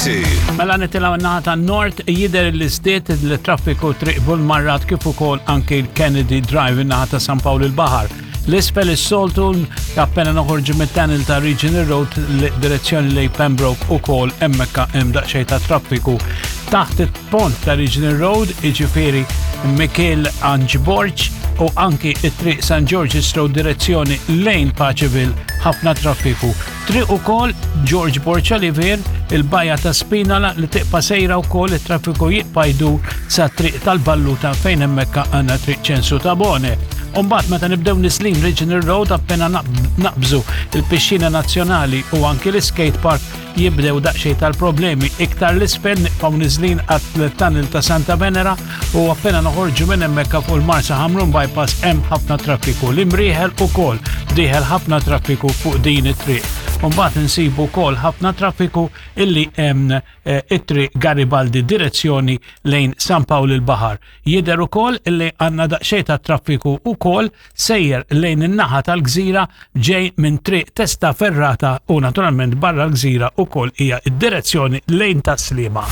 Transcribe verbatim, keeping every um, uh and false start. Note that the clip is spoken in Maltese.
two. Mela nitilgħu n-naħa tan-Nord, jidher li żdied il-traffiku Triq Burmarrad kif ukoll anki l-Kennedy Drive in-naħa ta' San Pawl il-Baħar. L-isfel is-soltu appena noħorġu mit-tunnel ta' Regional Road direzzjoni lejn Pembroke ukoll hemmhekk hemm daqsxejn ta' traffiku. Taħt il-pont ta' Regional Road, iġifieri Mikiel Anġ Borg u anki it-triq San George's Road direzzjoni lejn Paceville, ħafna traffiku. Triq ukoll George Borg Olivier, il-bajja ta' Spinala li tibqa' sejra wkoll it-traffiku jibqa' jdur sa triq tal-Balluta fejn hemmhekk għandna Triq Ċensu Tabone. Umbagħad meta nibdew niżlin Regional Road, appena naqbżu il-Pixxina Nazzjonali u anki l-skate park jibdew daqsxejn tal-problemi. Iktar l-isfel nibqgħu niżlin għat-tunnel ta' Santa Venera u appena noħorġu minn hemmhekk fuq il-Marsa Ħamrun Bypass hemm ħafna traffiku. L-Imrieħel ukoll dieħel ħafna traffiku fuq din it-triq. Mbagħad insibu wkoll ħafna traffiku illi hemm eh, it-triq Garibaldi direzzjoni lejn San Pawl il-Baħar. Jidher ukoll illi għandna daqsxejn ta' traffiku ukoll sejjer lejn in-naħa tal-gżira ġej minn triq Testaferrata u naturalment barra l-gżira ukoll hija id-direzzjoni lejn Tas-Sliema.